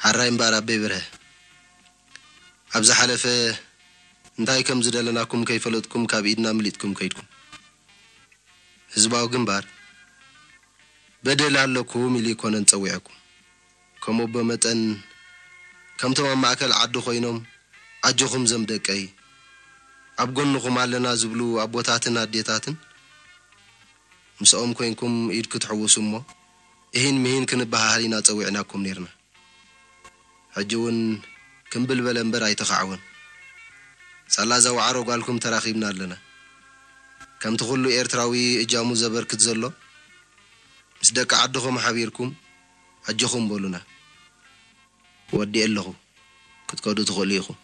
ሓራይ እምበኣር ኣበይ በርሀ፣ ኣብ ዝሓለፈ እንታይ ከም ዝደለናኩም ከይፈለጥኩም ካብ ኢድና ምሊጥኩም ከይድኩም። ህዝባዊ ግንባር በደል ኣለኩም ኢሉ ኣይኮነን ጸዊዕኩም። ከም ኣቦ መጠን ከምቶም ኣብ ማእከል ዓዲ ኮይኖም ኣጆኹም ዘም ደቀይ፣ ኣብ ጎንኹም ኣለና ዝብሉ ኣቦታትን ኣዴታትን ምስኦም ኮይንኩም ኢድ ክትሕውሱ እሞ እሂን ምሂን ክንበሃሃል ኢና ጸዊዕናኩም ነይርና። ሕጂ እውን ክምብል በለ እምበር ኣይተኻዕወን። ሳላ እዛ ዋዕሮ ጓልኩም ተራኺብና ኣለና። ከምቲ ኩሉ ኤርትራዊ እጃሙ ዘበርክት ዘሎ ምስ ደቂ ዓድኹም ሓቢርኩም ኣጆኹም በሉና። ወዲኤ ኣለኹ። ክትከዱ ትኽእሉ ኢኹም።